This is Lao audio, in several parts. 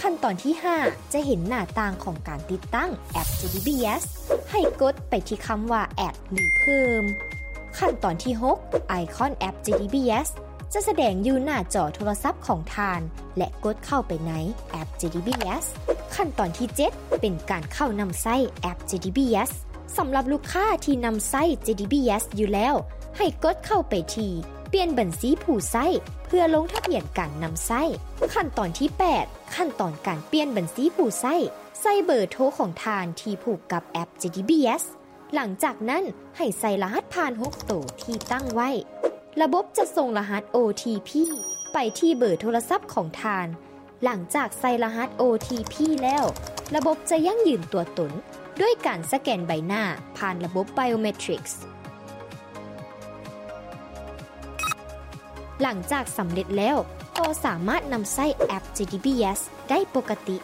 ຂັ້ນຕອນທີຫ້າ ຈະເຫັນໜ້າຕ່າງຂອງການຕິດຕັ້ງແອັບ ເຈດີບີເອສ. ໃຫ້ກົດໄປທີ່ຄຳວ່າ Add ຫຼື ເພີ່ມ. ຂັ້ນຕອນທີຫົກ ໄອຄອນແອັບ ເຈດີບີເອສ ຈະສະແດງຢູ່ໜ້າຈໍໂທລະສັບຂອງທ່ານ ແລະ ກົດເຂົ້າໄປໃນແອັບ ເຈດີບີເອສ. ຂັ້ນຕອນທີເຈັດ ເປັນການເຂົ້ານຳໃຊ້ແອັບ ເຈດີບີເອສ. ສຳລັບລູກຄ້າທີ່ນຳໃຊ້ ເຈດີບີເອສ ຢູ່ແລ້ວ, ໃຫ້ກົດເຂົ້າໄປທີ່ປ່ຽນບັນຊີຜູ້ໃຊ້ ເພື່ອລົງທະບຽນການນຳໃຊ້. ຂັ້ນຕອນທີແປດ ຂັ້ນຕອນການປ່ຽນບັນຊີຜູ້ໃຊ້. ໃສ່ເບີໂທຂອງທ່ານທີ່ຜູກກັບແອັບ ເຈດີບີເອສ. ຫຼັງຈາກນັ້ນ, ໃຫ້ໃສ່ລະຫັດຜ່ານຫົກໂຕທີ່ຕັ້ງໄວ້. ລະບົບຈະສົ່ງລະຫັດ ໂອທີພີ ໄປທີ່ເບີໂທລະສັບຂອງທ່ານ. ຫຼັງຈາກໃສ່ລະຫັດ ໂອທີພີ ແລ້ວ, ລະບົບຈະຢັ້ງຢືນຕົວຕົນດ້ວຍການສະແກນໃບໜ້າຜ່ານລະບົບໄບໂອເມທຣິກ. ຫຼັງຈາກສຳເລັດແລ້ວ, ກໍສາມາດນຳໃຊ້ແອັບ ເຈດີບີເອສ ໄດ້ປົກກະຕິ.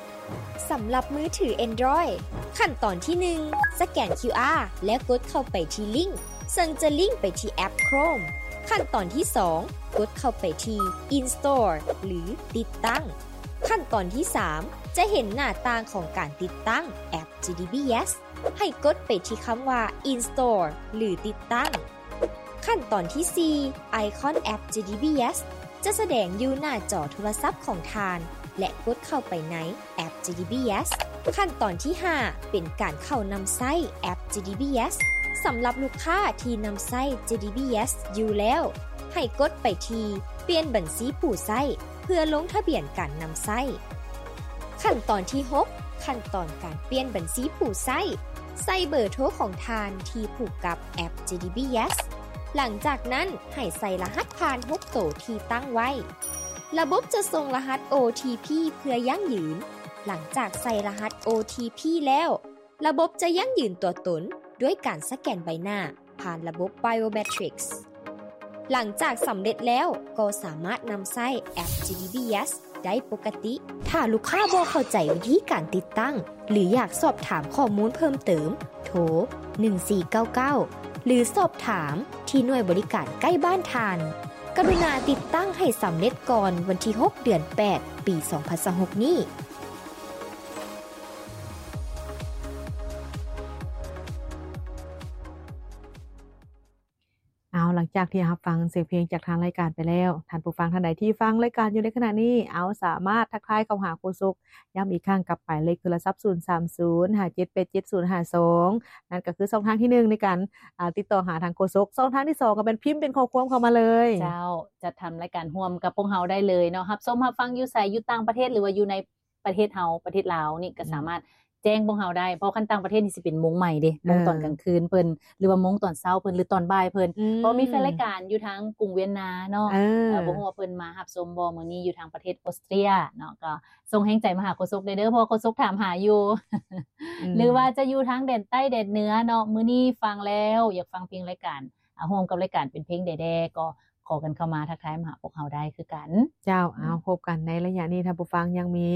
ສຳລັບມືຖືແອນດຣອຍ, ຂັ້ນຕອນທີໜຶ່ງ ສະແກນຄິວອາ ແລ້ວກົດເຂົ້າໄປທີ່ລິ້ງ ເຊິ່ງຈະລິ້ງໄປທີ່ແອັບໂຄຣມ. ຂັ້ນຕອນທີສອງ ກົດເຂົ້າໄປທີ່ອິນສະຕໍ ຫຼື ຕິດຕັ້ງ. ຂັ້ນຕອນທີສາມ ຈະເຫັນໜ້າຕ່າງຂອງການຕິດຕັ້ງແອັບ ເຈດີບີເອສ. ໃຫ້ກົດໄປທີ່ຄຳວ່າອິນສະຕໍ ຫຼື ຕິດຕັ້ງ. ຂັ້ນຕອນທີສີ່ ໄອຄອນແອັບ ເຈດີບີເອສ ຈະສະແດງຢູ່ໜ້າຈໍໂທລະສັບຂອງທ່ານ ແລະ ກົດເຂົ້າໄປໃນແອັບ ເຈດີບີເອສ. ຂັ້ນຕອນທີຫ້າ ເປັນການເຂົ້ານຳໃຊ້ແອັບ ເຈດີບີເອສ. ສຳລັບລູກຄ້າທີ່ນຳໃຊ້ ເຈດີບີເອສ ຢູ່ແລ້ວ, ໃຫ້ກົດໄປທີ່ປ່ຽນບັນຊີຜູ້ໃຊ້ ເພື່ອລົງທະບຽນການນຳໃຊ້. ຂັ້ນຕອນທີຫົກ ຂັ້ນຕອນການປ່ຽນບັນຊີຜູ້ໃຊ້. ໃສ່ເບີໂທຂອງທ່ານທີ່ຜູກກັບແອັບ ເຈດີບີເອສ. ຫຼັງຈາກນັ້ນ, ໃຫ້ໃສ່ລະຫັດຜ່ານຫົກໂຕທີ່ຕັ້ງໄວ້. ລະບົບຈະສົ່ງລະຫັດ ໂອທີພີ ເພື່ອຢັ້ງຢືນ. ຫຼັງຈາກໃສ່ລະຫັດ ໂອທີພີ ແລ້ວ, ລະບົບຈະຢັ້ງຢືນຕົວຕົນດ້ວຍການສະແກນໃບໜ້າ ຜ່ານລະບົບໄບໂອເມທຣິກ. ຫຼັງຈາກສຳເລັດແລ້ວ, ກໍສາມາດນຳໃຊ້ແອັບ ເຈດີບີເອສ ໄດ້ປົກກະຕິ. ຖ້າລູກຄ້າບໍ່ເຂົ້າໃຈວິທີການຕິດຕັ້ງ ຫຼື ຢາກສອບຖາມຂໍ້ມູນເພີ່ມເຕີມ, ໂທ ໜຶ່ງສີ່ເກົ້າເກົ້າ ຫຼື ສອບຖາມທີ່ໜ່ວຍບໍລິການໃກ້ບ້ານທ່ານ. ກະລຸນາຕິດຕັ້ງໃຫ້ສຳເລັດກ່ອນວັນທີຫົກ ເດືອນແປດ ປີສອງພັນຊາວຫົກນີ້. ເອົາ ຫຼັງຈາກທີ່ຮັບຟັງສຽງເພງຈາກທາງລາຍການໄປແລ້ວ, ທ່ານຜູ້ຟັງທ່ານໃດທີ່ຟັງລາຍການຢູ່ໃນຂະນະນີ້, ເອົາ ສາມາດທັກທາຍເຂົ້າຫາໂຄສົກ ຢ້ຳອີກຄັ້ງກັບໝາຍເລກໂທລະສັບ ສູນສາມສູນ ຫ້າເຈັດແປດເຈັດ ສູນຫ້າສອງ ນັ້ນກໍຄືຊ່ອງທາງທີໜຶ່ງໃນການ ອາ ຕິດຕໍ່ຫາທາງໂຄສົກ. ຊ່ອງທາງທີສອງກໍແມ່ນພິມເປັນຂໍ້ຄວາມເຂົ້າມາເລີຍ. ເຈົ້າ, ຈັດທຳລາຍການຮ່ວມກັບພວກເຮົາໄດ້ເລີຍເນາະ, ຮັບຊົມຮັບຟັງຢູ່ໃສ, ຢູ່ຕ່າງປະເທດ ຫຼືວ່າຢູ່ໃນ ປະເທດເຮົາ ປະເທດລາວນີ້ກໍ ອືມ ສາມາດແຈ້ງພວກເຮົາໄດ້, ເພາະຄັນຕ່າງປະເທດນີ້ຊິເປັນໂມງໃໝ່ເດ້, ເອີ ໂມງຕອນກາງຄືນເພິ່ນ ຫຼືວ່າໂມງຕອນເຊົ້າເພິ່ນ ຫຼືຕອນບ່າຍເພິ່ນ. ອືມ ເພາະມີແຟນລາຍການຢູ່ທາງກຸງວຽນນາເນາະ, ເອີ ເອີ ບໍ່ຮູ້ວ່າເພິ່ນມາຮັບຊົມບໍ່ມື້ນີ້ ຢູ່ທາງປະເທດອົດສະຕຣຽເນາະ, ກໍສົ່ງແຮງໃຈມາຫາໂຄສົກໄດ້ເດີ ເພາະໂຄສົກຖາມຫາຢູ່. ອືມ ຫຼືວ່າຈະຢູ່ທາງແດນໃຕ້ແດນເໜືອເນາະ, ມື້ນີ້ຟັງແລ້ວ ຢາກຟັງເພງລາຍການ ອາ ຮ່ວມກັບລາຍການເປັນເພງໃດແດ່ ກໍຂໍກັນເຂົ້າມາທັກທາຍມາຫາພວກເຮົາໄດ້ຄືກັນ. ເຈົ້າ, ອືມ ເອົາ ພົບກັນໃນໄລຍະນີ້ ທ່ານຜູ້ຟັງຍັງມີ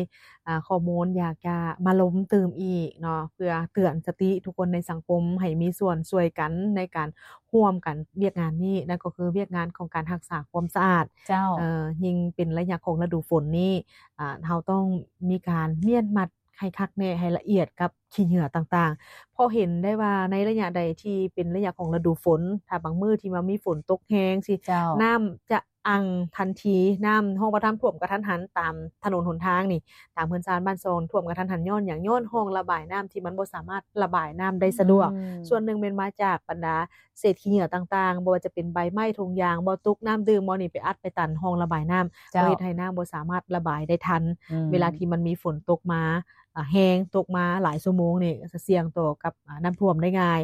ອາ ຂໍ້ມູນຢາກຈະມາລົມຕື່ມອີກເນາະ, ເພື່ອເຕືອນສະຕິທຸກຄົນໃນສັງຄົມໃຫ້ມີສ່ວນຊ່ວຍກັນໃນການຮ່ວມກັນວຽກງານນີ້, ນັ້ນກໍຄືວຽກງານຂອງການຮັກສາຄວາມສະອາດ. ເຈົ້າ, ເອີ ຍິ່ງເປັນໄລຍະຂອງລະດູຝົນນີ້ ອາ ເຮົາຕ້ອງມີການມ້ຽນມັດ ໃຫ້ຄັກແນ່ ໃຫ້ລະອຽດກັບຂີ້ເຫຍື້ອຕ່າງໆ, ເພາະເຫັນໄດ້ວ່າໃນໄລຍະໃດທີ່ເປັນໄລຍະຂອງລະດູຝົນ, ຖ້າບາງມື້ທີ່ວ່າມີຝົນຕົກແຮງຊີ້, ເຈົ້າ ນ້ຳຈະອັ່ງທັນທີ, ນ້ຳ ຮອງບາດານຖ້ວມກະທັນຫັນຕາມຖະໜົນຫົນທາງນີ້, ຕາມເຮືອນຊານບ້ານຊ່ອງຖ້ວມກະທັນຫັນ. ຍ້ອນຫຍັງ? ຍ້ອນຮ່ອງລະບາຍນ້ຳທີ່ມັນບໍ່ສາມາດລະບາຍນ້ຳໄດ້ສະດວກ. ອືມ ສ່ວນໜຶ່ງແມ່ນມາຈາກບັນດາ ເສດຂີ້ເຫຍື້ອຕົກຕ່າງໆ, ບໍ່ວ່າຈະເປັນໃບໄມ້, ຖົງຢາງ, ບໍ່ຕຸກ, ນ້ຳດື່ມ, ບໍ່ນີ້ໄປອັດໄປຕັນຮ່ອງລະບາຍນ້ຳ, ເຈົ້າ ກໍເຮັດໃຫ້ນ້ຳບໍ່ສາມາດລະບາຍໄດ້ທັນ. ອືມ ເວລາທີ່ມັນມີຝົນຕົກມາ ອາ ແຮງ, ຕົກມາຫຼາຍຊົ່ວໂມງນີ້ ຈະສ່ຽງຕໍ່ກັບ ອາ ນ້ຳຖ້ວມໄດ້ງ່າຍ.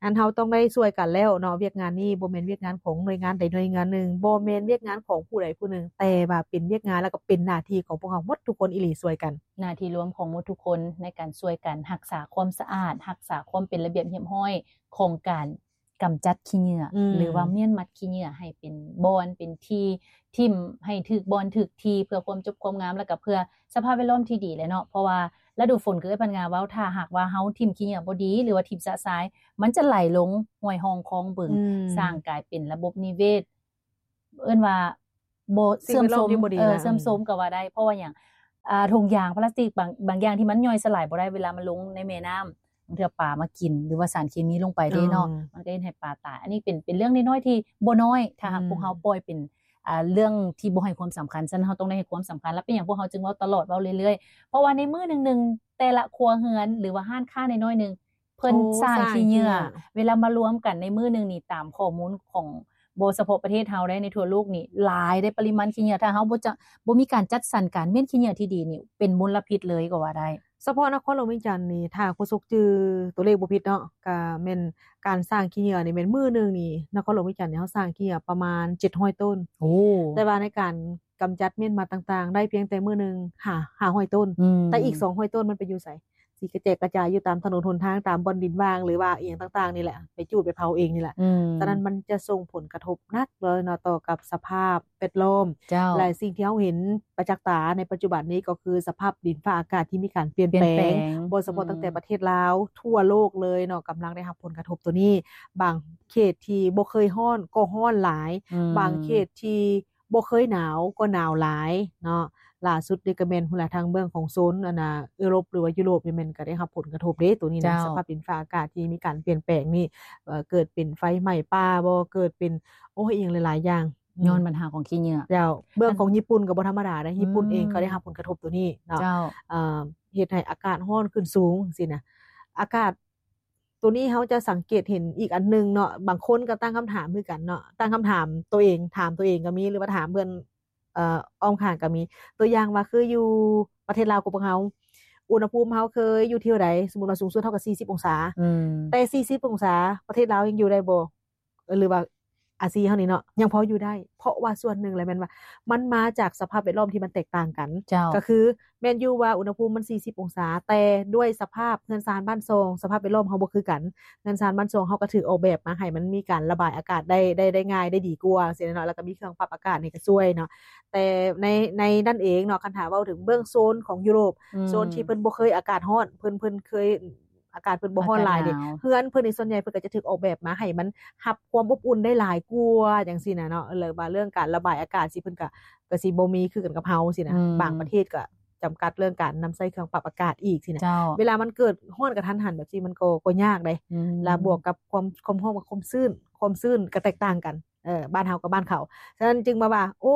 ອັນເຮົາຕ້ອງໄດ້ຊ່ວຍກັນແລ້ວເນາະ, ວຽກງານນີ້ບໍ່ແມ່ນວຽກງານຂອງໜ່ວຍງານໃດໜ່ວຍງານໜຶ່ງ, ບໍ່ແມ່ນວຽກງານຂອງຜູ້ໃດຜູ້ໜຶ່ງ, ແຕ່ວ່າເປັນວຽກງານ ແລ້ວກໍເປັນໜ້າທີ່ຂອງພວກເຮົາໝົດທຸກຄົນອີ່ຫຼີ, ຊ່ວຍກັນ. ໜ້າທີ່ລວມຂອງໝົດທຸກຄົນໃນການຊ່ວຍກັນຮັກສາຄວາມສະອາດ, ຮັກສາຄວາມເປັນລະບຽບຮຽບຮ້ອຍຂອງການ ກຳຈັດຂີ້ເຫຍື້ອ ອືມ ຫຼືວ່າມ້ຽນມັດຂີ້ເຫຍື້ອໃຫ້ເປັນບ່ອນ ເປັນທີ່ຖິ້ມໃຫ້ຖືກບ່ອນຖືກທີ່ ເພື່ອຄວາມຈົບຄວາມງາມ ແລ້ວກໍເພື່ອສະພາບແວດລ້ອມທີ່ດີແຫຼະເນາະ. ເພາະວ່າລະດູຝົນ ຄືເອື້ອຍພັນງາເວົ້າ ຖ້າຫາກວ່າເຮົາຖິ້ມຂີ້ເຫຍື້ອບໍ່ດີ ຫຼືວ່າຖິ້ມຊະຊາຍ ມັນຈະໄຫຼລົງຫ້ວຍຮ່ອງຄອງບຶງ ອືມ ສ້າງກາຍເປັນລະບົບນິເວດ ເອີ້ນວ່າບໍ່ເຊື່ອມໂຊມ ເອີ ເຊື່ອມໂຊມກໍວ່າໄດ້. ເພາະວ່າຫຍັງ? ອ່າ ຖົງຢາງພລາສຕິກ ບາງ ບາງຢ່າງທີ່ມັນຍ່ອຍສະຫຼາຍບໍ່ໄດ້ ເວລາມັນລົງໃນແມ່ນ້ຳ ບາງເທື່ອປາມາກິນ ຫຼືວ່າສານເຄມີລົງໄປເດ້ເນາະ ເອີ ມັນກໍເຮັດໃຫ້ປາຕາຍ. ອັນນີ້ເປັນ ເປັນເລື່ອງນ້ອຍໆທີ່ບໍ່ນ້ອຍ ຖ້າຫາກ ອືມ ພວກເຮົາປ່ອຍເປັນ ອ່າ ເລື່ອງທີ່ບໍ່ໃຫ້ຄວາມສຳຄັນ. ສະນັ້ນເຮົາຕ້ອງໄດ້ໃຫ້ຄວາມສຳຄັນ ແລະ ເປັນຫຍັງພວກເຮົາຈຶ່ງເວົ້າຕະຫຼອດ ເວົ້າເລື້ອຍໆ ເພາະວ່າໃນມື້ໜຶ່ງໆ ແຕ່ລະຄົວເຮືອນ ຫຼືວ່າຮ້ານຄ້ານ້ອຍໆໜຶ່ງ ເພິ່ນ ໂອ້ ສ້າງ ສ້າງຂີ້ເຫຍື້ອ ຂີ້ເຫຍື້ອ ເວລາມາລວມກັນໃນມື້ໜຶ່ງນີ້ ຕາມຂໍ້ມູນຂອງ ບໍ່ສະເພາະປະເທດເຮົາເດ້ ໃນທົ່ວໂລກນີ້ຫຼາຍເດ້ ປະລິມານຂີ້ເຫຍື້ອ ຖ້າເຮົາບໍ່ຈະ ບໍ່ມີການຈັດສັນການມ້ຽນຂີ້ເຫຍື້ອທີ່ດີນີ້ ເປັນມົນລະພິດເລີຍກໍວ່າໄດ້. ສະເພາະນະຄອນຫຼວງວຽງຈັນນີ້ ຖ້າໂຄສົກຈື່ຕົວເລກບໍ່ຜິດເນາະ ກະແມ່ນການສ້າງຂີ້ເຫຍື້ອນີ້ແມ່ນມື້ໜຶ່ງນີ້ ນະຄອນຫຼວງວຽງຈັນນີ້ ເຮົາສ້າງຂີ້ເຫຍື້ອປະມານເຈັດຮ້ອຍໂຕນ. ໂອ້ ແຕ່ວ່າໃນການກຳຈັດເມນມັດຕ່າງໆ ໄດ້ພຽງແຕ່ມື້ໜຶ່ງຫ້າ ຫ້າຮ້ອຍໂຕນ ອືມ ແຕ່ອີກສອງຮ້ອຍໂຕນມັນໄປຢູ່ໃສ? ຊິກະແຈກກະຈາຍຢູ່ຕາມຖະໜົນຫົນທາງ ຕາມບ່ອນດິນວ່າງ ຫຼືວ່າອີ່ຫຍັງຕ່າງໆນີ້ແຫຼະ ໄປຈູດໄປເຜົາເອງນີ້ແຫຼະ. ອືມ ສະນັ້ນມັນຈະສົ່ງຜົນກະທົບໜັກເລີຍເນາະ ຕໍ່ກັບສະພາບແວດລ້ອມ. ເຈົ້າ ແລະ ສິ່ງທີ່ເຮົາເຫັນປະຈັກຕາໃນປັດຈຸບັນນີ້ ກໍຄືສະພາບດິນຟ້າອາກາດທີ່ມີການປ່ຽນແປງ ປ່ຽນແປງ ບໍ່ສະເພາະ ອືມ ຕັ້ງແຕ່ປະເທດລາວ ທົ່ວໂລກເລີຍເນາະ ກຳລັງໄດ້ຮັບຜົນກະທົບໂຕນີ້. ບາງເຂດທີ່ບໍ່ເຄີຍຮ້ອນກໍຮ້ອນຫຼາຍ ອືມ ບາງເຂດທີ່ ບໍ່ເຄີຍໜາວກໍໜາວຫຼາຍເນາະ. ລ່າສຸດນີ້ກໍແມ່ນພຸ້ນລະ ທາງເບື້ອງຂອງໂຊນ ອັນນ່າ ເອີຣົບ ຫຼືວ່າຢູໂຣບນີ້ ແມ່ນກໍໄດ້ຮັບຜົນກະທົບເດ້ ໂຕນີ້ນະ. ເຈົ້າ ສະພາບດິນຟ້າອາກາດທີ່ມີການປ່ຽນແປງນີ້ ເອີ ເກີດເປັນໄຟໄໝ້ປ່າບໍ ເກີດເປັນ ໂອ້ຍ ອີ່ຫຍັງຫຼາຍໆຢ່າງ ອືມ ຍ້ອນບັນຫາຂອງຂີ້ເຫຍື້ອ. ເຈົ້າ ເບື້ອງຂອງຍີ່ປຸ່ນກໍບໍ່ທຳມະດາເດ້ ຍີ່ປຸ່ນເອງ ອືມ ກໍໄດ້ຮັບຜົນກະທົບໂຕນີ້ເນາະ. ເຈົ້າ ເອີ ເຮັດໃຫ້ອາກາດຮ້ອນຂຶ້ນສູງຊີ້ນະ ອາກາດ ໂຕນີ້ເຮົາຈະສັງເກດເຫັນອີກອັນໜຶ່ງເນາະ ບາງຄົນກໍຕັ້ງຄຳຖາມຄືກັນເນາະ ຕັ້ງຄຳຖາມໂຕເອງ ຖາມໂຕເອງກໍມີ ຫຼືວ່າຖາມເພື່ອນ ເອີ ອ້ອມຂ້າງກໍມີ. ຕົວຢ່າງວ່າຄືຢູ່ປະເທດລາວຂອງພວກເຮົາ ອຸນຫະພູມເຮົາເຄີຍຢູ່ທີ່ເທົ່າໃດ? ສົມມຸດວ່າສູງສຸດເຮົາກໍສີ່ສິບອົງສາ ອືມ ແຕ່ສີ່ສິບອົງສາປະເທດລາວຍັງຢູ່ໄດ້ບໍ່? ເອີ ຫຼືວ່າອາຊີເຮົານີ້ເນາະ ຍັງພໍຢູ່ໄດ້ ເພາະວ່າສ່ວນໜຶ່ງແຫຼະແມ່ນວ່າ ມັນມາຈາກສະພາບແວດລ້ອມທີ່ມັນແຕກຕ່າງກັນ. ເຈົ້າ ກໍຄືແມ່ນຢູ່ວ່າອຸນຫະພູມມັນສີ່ສິບອົງສາ ແຕ່ດ້ວຍສະພາບເຮືອນຊານບ້ານຊ່ອງ ສະພາບແວດລ້ອມເຮົາບໍ່ຄືກັນ ເຮືອນຊານບ້ານຊ່ອງເຮົາກໍຖືກອອກແບບມາໃຫ້ມັນມີການລະບາຍອາກາດໄດ້ ໄດ້ ໄດ້ງ່າຍ ໄດ້ດີກວ່າ ຈັ່ງຊີ້ເນາະ ແລ້ວກໍມີເຄື່ອງປັບອາກາດນີ້ກໍຊ່ວຍເນາະ. ແຕ່ໃນ ໃນນັ້ນເອງເນາະ ຄັນຖ້າເວົ້າເຖິງເບື້ອງໂຊນຂອງຢູໂຣບ ອືມ ໂຊນທີ່ເພິ່ນບໍ່ເຄີຍອາກາດຮ້ອນ ເພິ່ນ ເພິ່ນເຄີຍ ອາກາດເພິ່ນບໍ່ຮ້ອນຫຼາຍເດ້ ອາກາດໜາວ ເຮືອນເພິ່ນນີ້ສ່ວນໃຫຍ່ເພິ່ນກໍຈະຖືກອອກແບບມາໃຫ້ມັນຮັບຄວາມອົບອຸ່ນໄດ້ຫຼາຍກວ່າ ຈັ່ງຊີ້ນະເນາະ. ແລ້ວວ່າເລື່ອງການລະບາຍອາກາດຊິເພິ່ນກໍ ກໍຊິບໍ່ມີຄືກັນກັບເຮົາຊີ້ນະ ອືມ ບາງປະເທດກໍຈຳກັດເລື່ອງການນຳໃຊ້ເຄື່ອງປັບອາກາດອີກຊີ້ນະ. ເຈົ້າ ເວລາມັນເກີດຮ້ອນກະທັນຫັນແບບຊີ້ ມັນກໍ ກໍຍາກເດ້ ອືມ ແລ້ວບວກກັບຄວາມ ຄວາມຮ້ອນກັບຄວາມຊື້ນ ຄວາມຊື້ນກໍແຕກຕ່າງກັນ ເອີ ບ້ານເຮົາກັບບ້ານເຂົາ. ສະນັ້ນຈຶ່ງມາວ່າ ໂອ້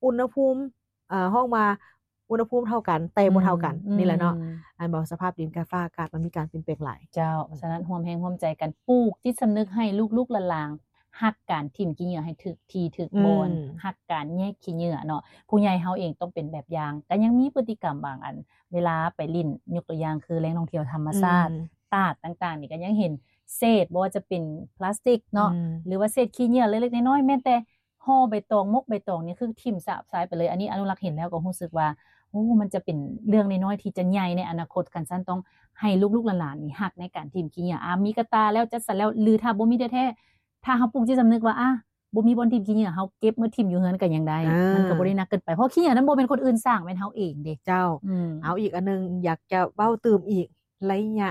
ອຸນຫະພູມ ເອີ ຮ້ອງວ່າອຸນຫະພູມເທົ່າກັນ ແຕ່ບໍ່ເທົ່າກັນ ອືມ ນີ້ແຫຼະເນາະ ອືມ ອັນບໍ່ ສະພາບດິນກັບຟ້າອາກາດມັນມີການປ່ຽນແປງຫຼາຍ. ເຈົ້າ ສະນັ້ນຮ່ວມແຮງຮ່ວມໃຈກັນ ປູກຈິດສຳນຶກໃຫ້ລູກໆຫຼານໆ ຮັກການຖິ້ມຂີ້ເຫຍື້ອໃຫ້ຖືກທີ່ຖືກບ່ອນ ອືມ ຮັກການແຍກຂີ້ເຫຍື້ອເນາະ. ຜູ້ໃຫຍ່ເຮົາເອງຕ້ອງເປັນແບບຢ່າງ ກໍຍັງມີພຶດຕິກຳບາງອັນ ເວລາໄປຫຼິ້ນ ຍົກຕົວຢ່າງຄືແຫຼ່ງທ່ອງທ່ຽວທຳມະຊາດ ອືມ ຕາດຕ່າງໆນີ້ ກໍຍັງເຫັນເສດ ບໍ່ວ່າຈະເປັນພລາສຕິກເນາະ ອືມ ຫຼືວ່າເສດຂີ້ເຫຍື້ອເລັກໆນ້ອຍໆ ແມ່ນແຕ່ ຫໍ່ໃບຕອງ ໝົກໃບຕອງນີ້ຄືຖິ້ມສາບຊາຍໄປເລີຍ. ອັນນີ້ອະນຸລັກເຫັນແລ້ວກໍຮູ້ສຶກວ່າ ໂອ້ ມັນຈະເປັນເລື່ອງນ້ອຍໆທີ່ຈະໃຫຍ່ໃນອະນາຄົດ. ຄັນຊັ້ນຕ້ອງໃຫ້ລູກໆຫຼານໆນີ້ຮັກໃນການຖິ້ມຂີ້ເຫຍື້ອ. ອາ ມີກະຕ່າແລ້ວ ຈັດສັນແລ້ວ ຫຼືຖ້າບໍ່ມີແທ້ໆ ຖ້າເຮົາປູກຈິດສຳນຶກວ່າ ອາ ບໍ່ມີບ່ອນຖິ້ມຂີ້ເຫຍື້ອ ເຮົາເກັບມາຖິ້ມຢູ່ເຮືອນກໍຍັງໄດ້ ເອີ ມັນກໍບໍ່ໄດ້ໜັກເກີນໄປ ເພາະຂີ້ເຫຍື້ອນັ້ນບໍ່ແມ່ນຄົນອື່ນສ້າງ ແມ່ນເຮົາເອງເດ້. ເຈົ້າ ອືມ ເອົາ ອີກອັນໜຶ່ງ ຢາກຈະເວົ້າຕື່ມອີກ ໄລຍະ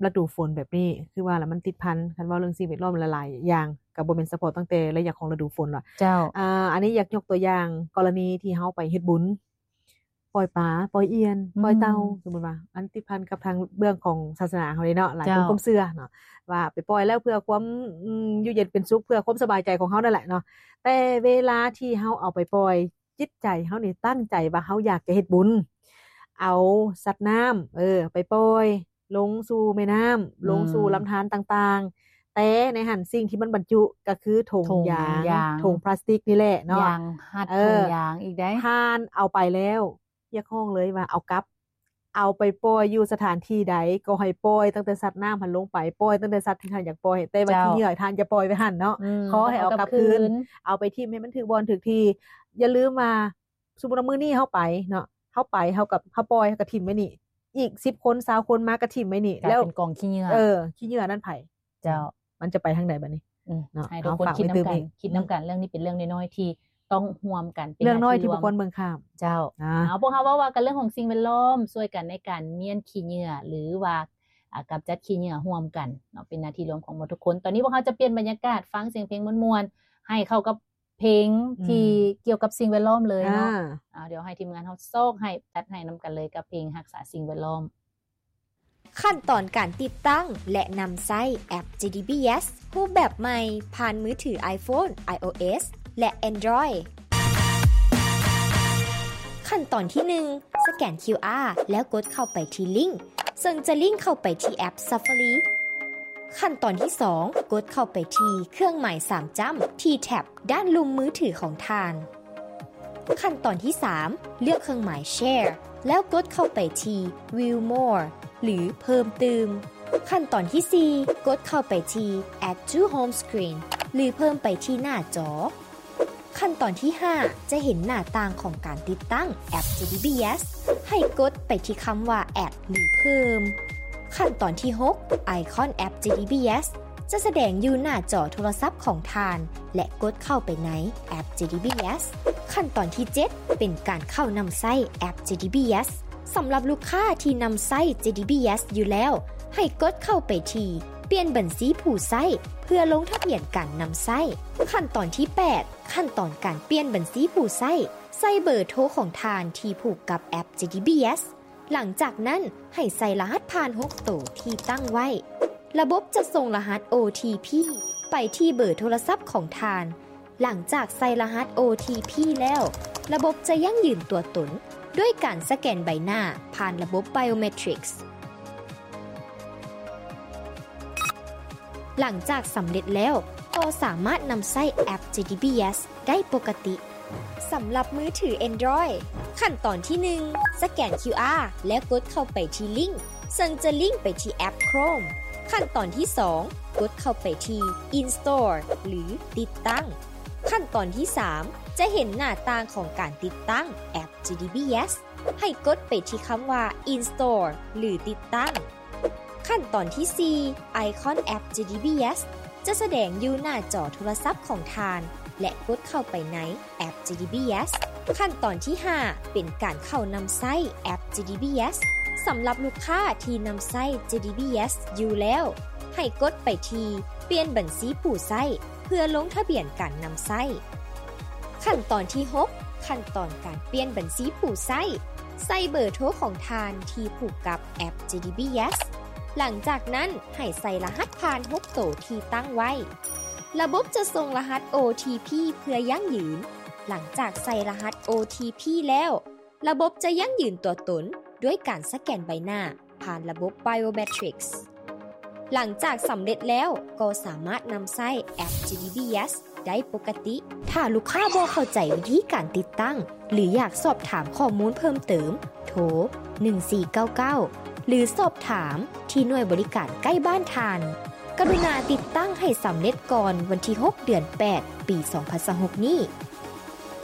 ລະດູຝົນແບບນີ້ ຄືວ່າລະມັນຕິດພັນ ຄັນເວົ້າເລື່ອງສິ່ງແວດລ້ອມຫຼາຍໆຢ່າງ ກໍບໍ່ແມ່ນສະເພາະຕັ້ງແຕ່ໄລຍະຂອງລະດູຝົນວ່າ. ເຈົ້າ ອ່າ ອັນນີ້ຢາກຍົກຕົວຢ່າງກໍລະນີທີ່ເຮົາໄປເຮັດບຸນ ປ່ອຍປາ ປ່ອຍອ່ຽນ ອືມ ປ່ອຍເຕົ່າ ສົມມຸດວ່າ ອັນຕິດພັນກັບທາງເບື້ອງຂອງສາສະໜາເຮົາເດ້ເນາະ ຫຼາຍຄົນ ເຈົ້າ ຄວາມເຊື່ອເນາະ ວ່າໄປປ່ອຍແລ້ວເພື່ອຄວາມ ອືມ ຢູ່ເຢັນເປັນສຸກ ເພື່ອຄວາມສະບາຍໃຈຂອງເຮົານັ້ນແຫຼະເນາະ. ແຕ່ເວລາທີ່ເຮົາເອົາໄປປ່ອຍ ຈິດໃຈເຮົານີ້ຕັ້ງໃຈວ່າເຮົາຢາກຈະເຮັດບຸນ ເອົາສັດນ້ຳ ເອີ ໄປປ່ອຍລົງສູ່ແມ່ນ້ຳ ອືມ ລົງສູ່ລຳທານຕ່າງໆ ແຕ່ໃນຫັ້ນສິ່ງທີ່ມັນບັນຈຸກໍຄືຖົງຢາງ ຖົງຢາງ ຖົງພລາສຕິກນີ້ແຫຼະເນາະ ຢາງຮັດ ເອີ ຖົງຢາງອີກໄດ໋ ທ່ານເອົາໄປແລ້ວ ຮຽກຮ້ອງເລີຍວ່າເອົາກັບ ເອົາໄປປ່ອຍຢູ່ສະຖານທີ່ໃດກໍໃຫ້ປ່ອຍຕັ້ງແຕ່ສັດນ້ຳຫັ້ນລົງໄປ ປ່ອຍຕັ້ງແຕ່ສັດທີ່ທ່ານຢາກປ່ອຍ ແຕ່ວ່າ ເຈົ້າ ຂີ້ເຫຍື້ອທ່ານຢ່າປ່ອຍໄວ້ຫັ້ນເນາະ ອືມ ຂໍໃຫ້ເອົາກັບຄືນ ເອົາໄປຖິ້ມໃຫ້ມັນຖືກບ່ອນຖືກທີ່. ຢ່າລືມວ່າ ສົມມຸດວ່າມື້ນີ້ເຮົາໄປເນາະ ເຮົາໄປ ເຮົາກໍ ເຮົາປ່ອຍ ເຮົາກໍຖິ້ມໄວ້ນີ້ ອີກສິບຄົນ ຊາວຄົນມາກໍຖິ້ມໄວ້ນີ້ ກາຍເປັນກອງຂີ້ເຫຍື້ອ ແລ້ວ ເອີ ຂີ້ເຫຍື້ອນັ້ນໃຜ? ເຈົ້າ ມັນຈະໄປທາງໃດບັດນີ້? ອືມ ເນາະ ໃຫ້ທຸກຄົນຄິດນຳກັນ ຄິດນຳກັນ ເລື່ອງນີ້ເປັນເລື່ອງນ້ອຍໆທີ່ຕ້ອງຮ່ວມກັນ ເປັນເລື່ອງນ້ອຍທີ່ບໍ່ຄວນເບິ່ງຂ້າມ. ເຈົ້າ ເອົາ ພວກເຮົາເວົ້າວ່າກັນເລື່ອງຂອງສິ່ງແວດລ້ອມ ຊ່ວຍກັນໃນການມ້ຽນຂີ້ເຫຍື້ອ ຫຼືວ່າ ອາ ກຳຈັດຂີ້ເຫຍື້ອຮ່ວມກັນເນາະ ເປັນໜ້າທີ່ລວມຂອງໝົດທຸກຄົນ. ຕອນນີ້ພວກເຮົາຈະປ່ຽນບັນຍາກາດ ຟັງສຽງເພງມ່ວນໆ ໃຫ້ເຂົ້າກັບ ເພງ ອືມ ທີ່ກ່ຽວກັບສິ່ງແວດລ້ອມເລີຍເນາະ. ອ່າ ດຽວໃຫ້ທີມງານເຮົາຊອກໃຫ້ ຈັດໃຫ້ນຳກັນເລີຍກັບເພງຮັກສາສິ່ງແວດລ້ອມ. ຂັ້ນຕອນການຕິດຕັ້ງ ແລະ ນຳໃຊ້ແອັບ ເຈ ດີ ບີ ເອສ ຮູບແບບໃໝ່ ຜ່ານມືຖື iPhone, iOS ແລະ Android. ຂັ້ນຕອນທີໜຶ່ງ ສະແກນ ຄິວອາ ແລ້ວກົດເຂົ້າໄປທີ່ລິ້ງ ເຊິ່ງຈະລິ້ງເຂົ້າໄປທີ່ແອັບ Safari. ຂັ້ນຕອນທີສອງ ກົດເຂົ້າໄປທີ່ເຄື່ອງໝາຍສາມຈ້ຳ ທີ່ແທັບດ້ານລຸ່ມມືຖືຂອງທ່ານ. ຂັ້ນຕອນທີສາມ ເລືອກເຄື່ອງໝາຍ Share ແລ້ວກົດເຂົ້າໄປທີ່ View More ຫຼື ເພີ່ມຕື່ມ. ຂັ້ນຕອນທີສີ່ ກົດເຂົ້າໄປທີ່ Add to Home Screen ຫຼື ເພີ່ມໄປທີ່ໜ້າຈໍ. ຂັ້ນຕອນທີຫ້າ ຈະເຫັນໜ້າຕ່າງຂອງການຕິດຕັ້ງແອັບ ເຈ ດີ ບີ ເອສ ໃຫ້ກົດໄປທີ່ຄຳວ່າ Add ຫຼື ເພີ່ມ. ຂັ້ນຕອນທີຫົກ ໄອຄອນແອັບ ເຈ ດີ ບີ ເອສ ຈະສະແດງຢູ່ໜ້າຈໍໂທລະສັບຂອງທ່ານ ແລະ ກົດເຂົ້າໄປໃນແອັບ ເຈ ດີ ບີ ເອສ. ຂັ້ນຕອນທີເຈັດ ເປັນການເຂົ້ານຳໃຊ້ແອັບ ເຈ ດີ ບີ ເອສ. ສຳລັບລູກຄ້າທີ່ນຳໃຊ້ ເຈ ດີ ບີ ເອສ ຢູ່ແລ້ວ ໃຫ້ກົດເຂົ້າໄປທີ່ປ່ຽນບັນຊີຜູ້ໃຊ້ ເພື່ອລົງທະບຽນການນຳໃຊ້. ຂັ້ນຕອນທີແປດ ຂັ້ນຕອນການປ່ຽນບັນຊີຜູ້ໃຊ້. ໃສ່ເບີໂທຂອງທ່ານທີ່ຜູກກັບແອັບ ເຈ ດີ ບີ ເອສ. ຫຼັງຈາກນັ້ນໃຫ້ໃສ່ລະຫັດຜ່ານຫົກໂຕທີ່ຕັ້ງໄວ້. ລະບົບຈະສົ່ງລະຫັດ ໂອ ທີ ພີ ໄປທີ່ເບີໂທລະສັບຂອງທ່ານ. ຫຼັງຈາກໃສ່ລະຫັດ ໂອ ທີ ພີ ແລ້ວ, ລະບົບຈະຢັ້ງຢືນຕົວຕົນດ້ວຍການສະແກນໃບໜ້າຜ່ານລະບົບ Biometrics. ຫຼັງຈາກສຳເລັດແລ້ວ, ກໍສາມາດນຳໃຊ້ແອັບ ເຈ ດີ ບີ ເອສ ໄດ້ປົກກະຕິ. ສຳລັບມືຖື Android, ຂັ້ນຕອນທີໜຶ່ງ ສະແກນ ຄິວອາ ແລ້ວກົດເຂົ້າໄປທີ່ລິ້ງ ເຊິ່ງຈະລິ້ງໄປທີ່ແອັບ Chrome. ຂັ້ນຕອນທີສອງ ກົດເຂົ້າໄປທີ່ Install ຫຼື ຕິດຕັ້ງ. ຂັ້ນຕອນທີສາມ ຈະເຫັນໜ້າຕ່າງຂອງການຕິດຕັ້ງແອັບ ເຈ ດີ ບີ ເອສ. ໃຫ້ກົດໄປທີ່ຄຳວ່າ Install ຫຼື ຕິດຕັ້ງ. ຂັ້ນຕອນທີສີ່ ໄອຄອນແອັບ ເຈ ດີ ບີ ເອສ ຈະສະແດງຢູ່ໜ້າຈໍໂທລະສັບຂອງທ່ານ ແລະ ກົດເຂົ້າໄປໃນແອັບ ເຈ ດີ ບີ ເອສ. ຂັ້ນຕອນທີຫ້າ ເປັນການເຂົ້ານຳໃຊ້ແອັບ ເຈ ດີ ບີ ເອສ. ສຳລັບລູກຄ້າທີ່ນຳໃຊ້ ເຈ ດີ ບີ ເອສ ຢູ່ແລ້ວ, ໃຫ້ກົດໄປທີ່ປ່ຽນບັນຊີຜູ້ໃຊ້ ເພື່ອລົງທະບຽນການນຳໃຊ້. ຂັ້ນຕອນທີຫົກ ຂັ້ນຕອນການປ່ຽນບັນຊີຜູ້ໃຊ້. ໃສ່ເບີໂທຂອງທ່ານທີ່ຜູກກັບແອັບ ເຈ ດີ ບີ ເອສ. ຫຼັງຈາກນັ້ນໃຫ້ໃສ່ລະຫັດຜ່ານຫົກໂຕທີ່ຕັ້ງໄວ້. ລະບົບຈະສົ່ງລະຫັດ ໂອ ທີ ພີ ເພື່ອຢັ້ງຢືນ. ຫຼັງຈາກໃສ່ລະຫັດ ໂອ ທີ ພີ ແລ້ວ, ລະບົບຈະຢັ້ງຢືນຕົວຕົນດ້ວຍການສະແກນໃບໜ້າ ຜ່ານລະບົບ Biometrics. ຫຼັງຈາກສຳເລັດແລ້ວ, ກໍສາມາດນຳໃຊ້ແອັບ ເຈ ດີ ບີ ເອສ ໄດ້ປົກກະຕິ. ຖ້າລູກຄ້າບໍ່ເຂົ້າໃຈວິທີການຕິດຕັ້ງ ຫຼື ຢາກສອບຖາມຂໍ້ມູນເພີ່ມເຕີມ, ໂທ ໜຶ່ງສີ່ເກົ້າເກົ້າ ຫຼື ສອບຖາມທີ່ໜ່ວຍບໍລິການໃກ້ບ້ານທ່ານ. ກະລຸນາຕິດຕັ້ງໃຫ້ສຳເລັດກ່ອນວັນທີຫົກ ເດືອນແປດ ປີສອງພັນຊາວຫົກນີ້.